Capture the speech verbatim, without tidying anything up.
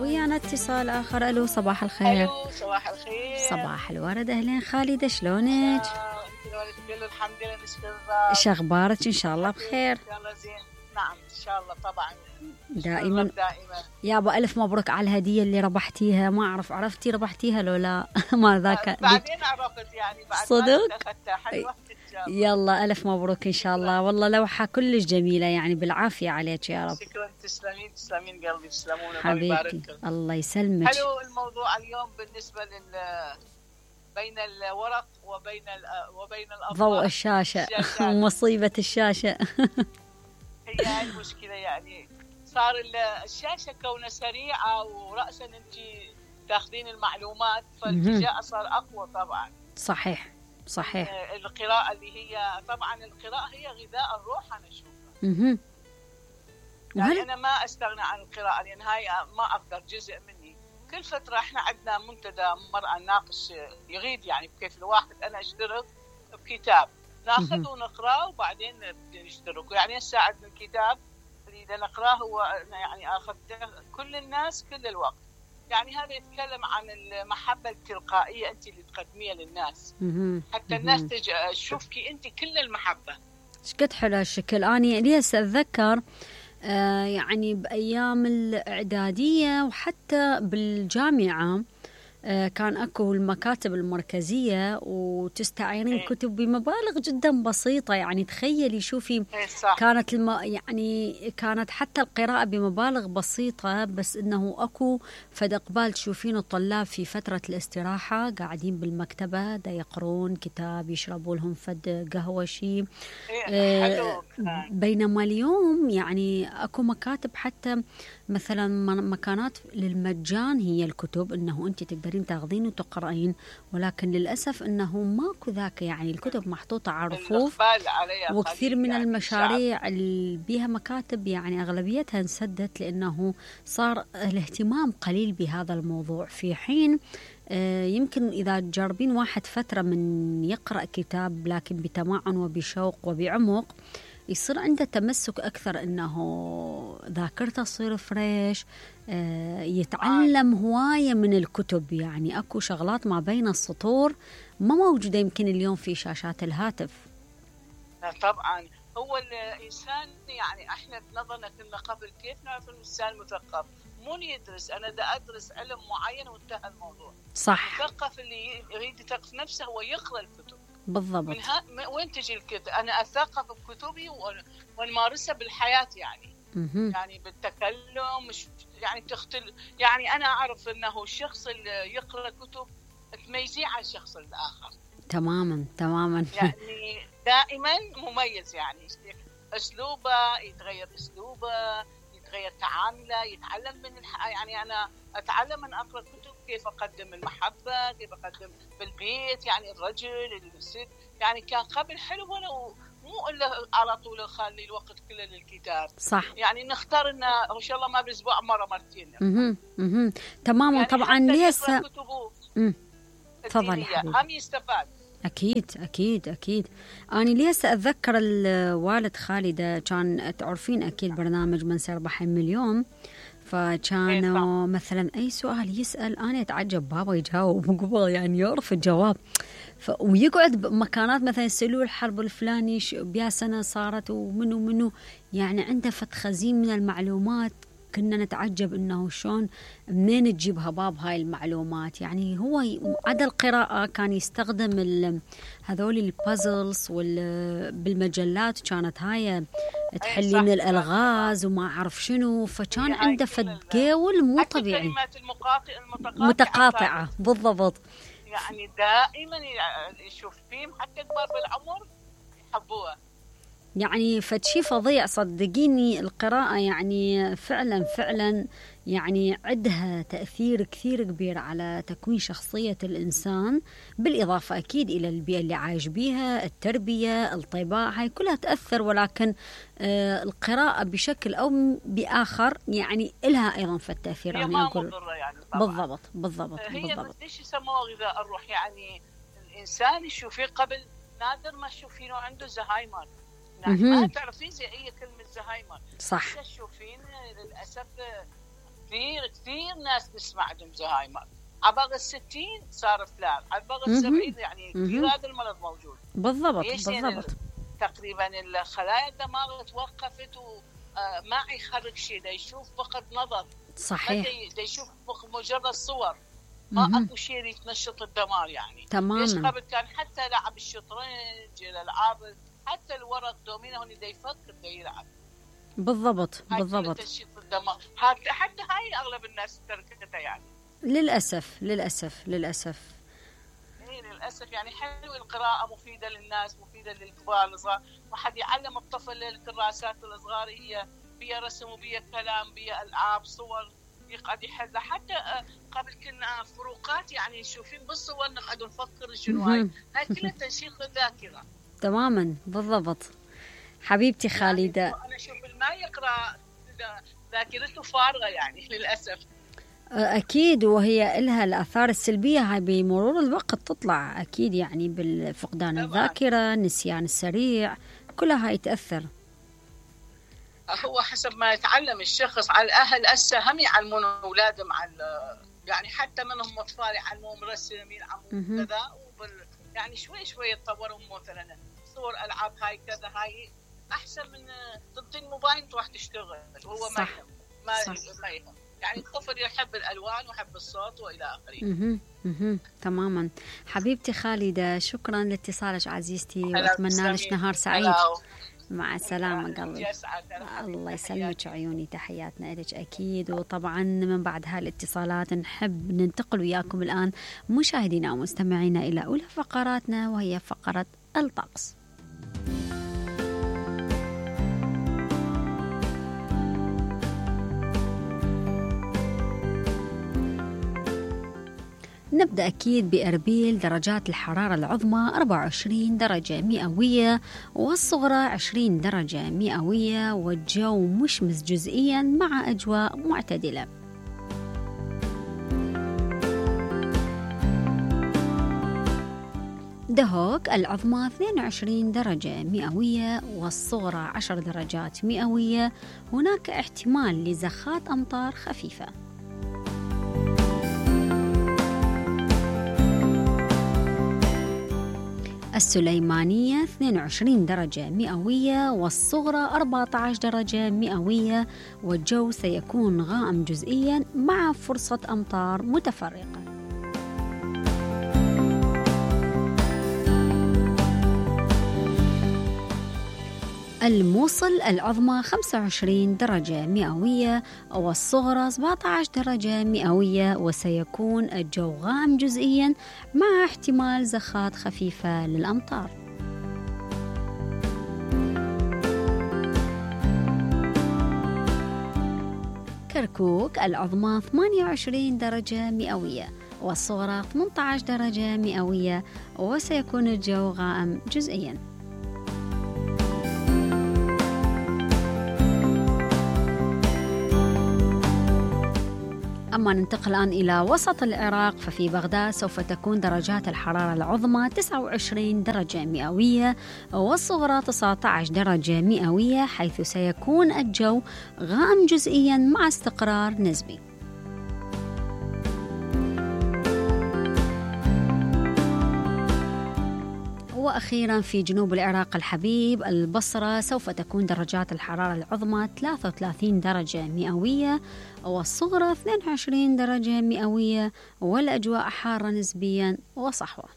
ويانا اتصال آخر. ألو صباح الخير. ألو صباح الخير. صباح الورد. أهلين خالدة، شلونك؟ الحمد لله نشكر. شخبارك؟ إن شاء الله بخير. إن شاء الله زين. نعم إن شاء الله طبعا دائما دائما. يابا ألف مبروك على الهدية اللي ربحتيها. ما أعرف عرفتي ربحتيها لو لا؟ ما ذاك بعدين عرفت يعني بعد صدق. حلوة. يلا ألف مبروك إن شاء الله. والله لوحة كلش جميلة يعني، بالعافية عليك يا رب. شكرا. تسلمين تسلمين قلبي تسلمون حبيبتي الله يسلمك. حلو الموضوع اليوم بالنسبة لل بين الورق وبين وبين الأضواء ضوء الشاشة ومصيبة الشاشة. هي هاي المشكلة يعني، صار الشاشة كونها سريعة ورأسا أنت تاخذين المعلومات، فالالتجاء صار أقوى طبعا. صحيح صحيح. القراءة اللي هي طبعا القراءة هي غذاء الروح أنا أشوفها. اها. يعني أنا ما أستغنى عن القراءة لأن هاي ما أقدر جزء مني. كل فترة إحنا عندنا منتدى مرأة نناقش يغيد يعني كيف الواحد أنا أشترك بكتاب ناخذه ونقراه وبعدين نشترك. يعني هسه عندنا الكتاب اللي إذا نقراه هو يعني أخذته كل الناس كل الوقت. يعني هذا يتكلم عن المحبة التلقائية أنت اللي تقدميها للناس حتى الناس تشوفكي أنت كل المحبة. شقد حلو هالشكل. أنا لي هسه أتذكر آه يعني بأيام الإعدادية وحتى بالجامعة آه كان أكو المكاتب المركزية وتستعيرين كتب بمبالغ جدا بسيطة. يعني تخيلي شوفي كانت الم... يعني كانت حتى القراءة بمبالغ بسيطة، بس إنه أكو فد قبال تشوفين الطلاب في فترة الاستراحة قاعدين بالمكتبة دا يقرون كتاب يشربوا لهم فد قهوة شي. آه بينما اليوم يعني أكو مكاتب حتى مثلا مكانات للمجان هي الكتب، إنه أنت تقدرين تاخذين وتقرأين، ولكن للأسف إنه ماكو ذاك. يعني الكتب محطوطة على رفوف وكثير من يعني المشاريع اللي بيها مكاتب يعني أغلبيتها انسدت لأنه صار الاهتمام قليل بهذا الموضوع. في حين آه يمكن إذا تجربين واحد فترة من يقرأ كتاب لكن بتمعن وبشوق وبعمق يصير عنده تمسك أكثر، إنه ذاكرته تصير فريش. آه يتعلم هواية من الكتب. يعني أكو شغلات ما بين السطور ما موجودة يمكن اليوم في شاشات الهاتف. طبعا هو الإنسان يعني إحنا بنظرنا كنا قبل كيف نعرف الإنسان مثقف؟ مو يدرس أنا دا أدرس علم معين وانتهى الموضوع. صح. المثقف اللي يريد يثقف نفسه هو يقرأ الكتب. بالضبط. من ها... وين تجي الكتب؟ أنا أثقف بكتبي ونمارسها بالحياة يعني. مه. يعني بالتكلم مش يعني تختل. يعني أنا أعرف أنه الشخص اللي يقرأ كتب تميزيه عن الشخص الآخر. تماما تماما. يعني دائما مميز. يعني أسلوبه يتغير، أسلوبه يتغير، تعامله يتعلم من الح... يعني أنا أتعلم من أقرأ كتب كيف أقدم المحبة، كيف أقدم بالبيت يعني الرجل الست. يعني كان قبل حلو ولو مو إلا على طول أخلي الوقت كله للكتاب. صح. يعني نختار إنه إن شاء الله ما بالأسبوع مرة مرتين. اها اها تماما. يعني طبعا ليس امم تفضلي حبيبي. هم يستفاد. أكيد أكيد أكيد. أنا ليس أتذكر الوالد خالدة كان تعرفين أكيد برنامج من سيربح المليون، فكانوا مثلا أي سؤال يسأل أنا أتعجب بابا يجاوب قبل يعني يعرف الجواب. ف... ويقعد بمكانات مثلا يسألوه الحرب الفلاني بيا سنة صارت ومنو منو، يعني عنده فت خزين من المعلومات. كنا نتعجب إنه شلون منين تجيبها باب هاي المعلومات. يعني هو عدا القراءة كان يستخدم ال... هذول البازلز وال... بالمجلات كانت هاي تحلين الألغاز وما أعرف شنو، فكان عنده فدقول مو طبيعي. متقاطعة بالضبط. يعني دائما يشوف فيهم حتى كبار بالعمر يحبوها. يعني فشي فظيع صدقيني. القراءة يعني فعلا فعلا يعني عندها تأثير كثير كبير على تكوين شخصية الإنسان، بالإضافة أكيد إلى البيئة اللي عايش بيها، التربية، الطباع، هاي كلها تأثر. ولكن آه القراءة بشكل أو بآخر يعني إلها أيضا في التأثير. أنا أقول يعني بالضبط بالضبط هي بالضبط. ليش يسموها غذاء الروح؟ يعني الإنسان يشوفيه قبل نادر ما تشوفينه عنده زهايمر. يعني ما تعرفين زي أي كلمة زهايمر. صح. تشوفين للأسف كثير كثير ناس تسمع عندهم زهايمر. عبر الستين صار فلان، عبر السبعين يعني كثير هذا المرض موجود. بالضبط بالضبط. تقريبا الخلايا الدماغ توقفت وما يخرج شيء، دا يشوف فقط نظر. صحيح. دا يشوف مجرد صور، ما اكو شيء يتنشط الدماغ يعني. تماما. ليش قبل كان حتى لعب الشطرنج، الالعاب، حتى الورق دومينو هون دا يفكر دا يلعب. بالضبط بالضبط. تنشيط الدماغ، حتى حتى هاي اغلب الناس تركتها يعني. للاسف للاسف للاسف. ايه للاسف يعني. حلو القراءه، مفيده للناس، مفيده للكبار الصغار. واحد يعلم الطفل الكراسات الصغار، هي بيها رسم وبيها كلام بيها العاب صور يقعد يحلها. حتى قبل كنا فروقات يعني شوفين بالصور نقعد نفكر شنو هاي هاي كلها تنشيط الذاكره. تماما بالضبط. حبيبتي خالده، يعني انا اشوف ما يقرا ذاكرته فارغه يعني للاسف. أكيد، وهي إلها الآثار السلبية هاي بمرور الوقت تطلع أكيد، يعني بالفقدان الذاكرة، النسيان السريع، كلها هاي تأثر. هو حسب ما يتعلم الشخص. على الأهل هسه هم يعلمون أولادهم على يعني حتى منهم أطفال يعلمون رسم، يلعبون كذا، وبال يعني شوي شوي يتطورون. مثلا صور ألعاب هاي كذا، هاي أحسن من ضد الموبايل تروح تشتغل وهو ما يهم. ما ما يهم يعني. الطفل يحب الألوان ويحب الصوت وإلى آخره. اها اها تماما. حبيبتي خالدة، شكرا لاتصالك عزيزتي، وأتمنى لك نهار سعيد. مع السلامة قلبي. الله يسلمك عيوني، تحياتنا لك أكيد. وطبعا من بعد هالاتصالات نحب ننتقل وياكم الآن مشاهدينا ومستمعينا إلى أولى فقراتنا، وهي فقرة الطقس. نبدأ أكيد بأربيل. درجات الحرارة العظمى أربعة وعشرين درجة مئوية، والصغرى عشرين درجة مئوية، والجو مشمس جزئيا مع أجواء معتدلة. دهوك العظمى اثنين وعشرين درجة مئوية، والصغرى عشر درجات مئوية. هناك احتمال لزخات أمطار خفيفة. السليمانية اثنين وعشرين درجة مئوية، والصغرى أربعة عشر درجة مئوية، والجو سيكون غائم جزئيا مع فرصة أمطار متفرقة. الموصل العظمى خمسة وعشرين درجة مئوية، والصغرى سبعة عشر درجة مئوية، وسيكون الجو غائم جزئيا مع احتمال زخات خفيفة للأمطار. كركوك العظمى ثمانية وعشرين درجة مئوية، والصغرى ثمانية عشر درجة مئوية، وسيكون الجو غائم جزئيا. أما ننتقل الآن إلى وسط العراق، ففي بغداد سوف تكون درجات الحرارة العظمى تسعة وعشرين درجة مئوية، والصغرى تسعة عشر درجة مئوية، حيث سيكون الجو غائم جزئيا مع استقرار نسبي. وأخيرا في جنوب العراق الحبيب البصرة سوف تكون درجات الحرارة العظمى ثلاثة وثلاثين درجة مئوية، والصغرى اثنين وعشرين درجة مئوية، والأجواء حارة نسبيا وصحوة.